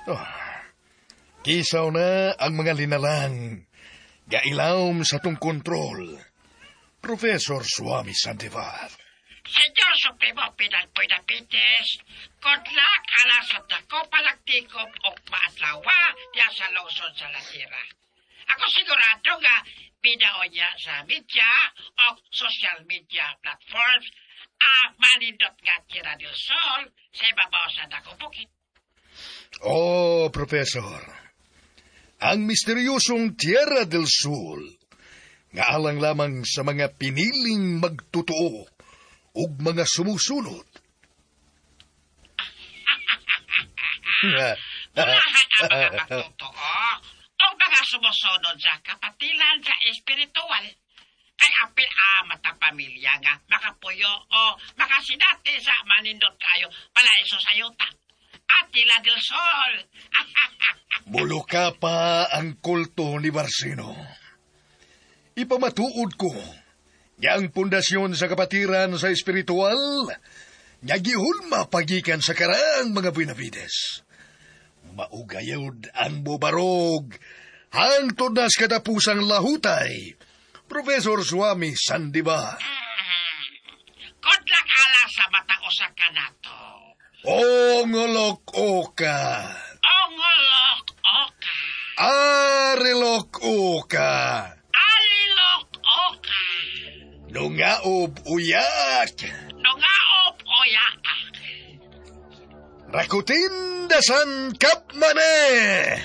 Oh, kisaw na ang mga linalang gailawom sa tong kontrol. Professor Swami Sandivar. Señor Supremo Penal Benavides, good luck ala sa dako palagtikop o maadlawa diya sa lungsod sa La Tierra. Ako sigurado nga bidao niya sa media o social media platforms ang manindot nga Tierra del Sol sa ibabaw sa dakong bukid. Oh, Professor. Ang misteryosong Tierra del Sol nga alang lamang sa mga piniling magtotoo ug mga sumusunod. Mulahan ang mga magtotoo o mga sumusunod sa kapatilan sa espiritual. Kay apil amat ang pamilya nga makapuyo o makasinati sa manindot kayo palaiso sa yuta. Atila del Sol. Buluka pa ang kulto ni Barcino. Ipamatuod ko nga ang pundasyon sa kapatiran sa espiritual nga gihulma pagikan sa karaang mga Benavides. Maugayod ang bubarog hangtod na sa katapusang lahutay. Professor Swami Sandiba. Good luck ala sa mata usa kanato. Ongolok oka. Ongolok oka. Arilok oka. Alilok oka. Nungaob uyak. Nungaob uyak. Rakutin dasan kapmane.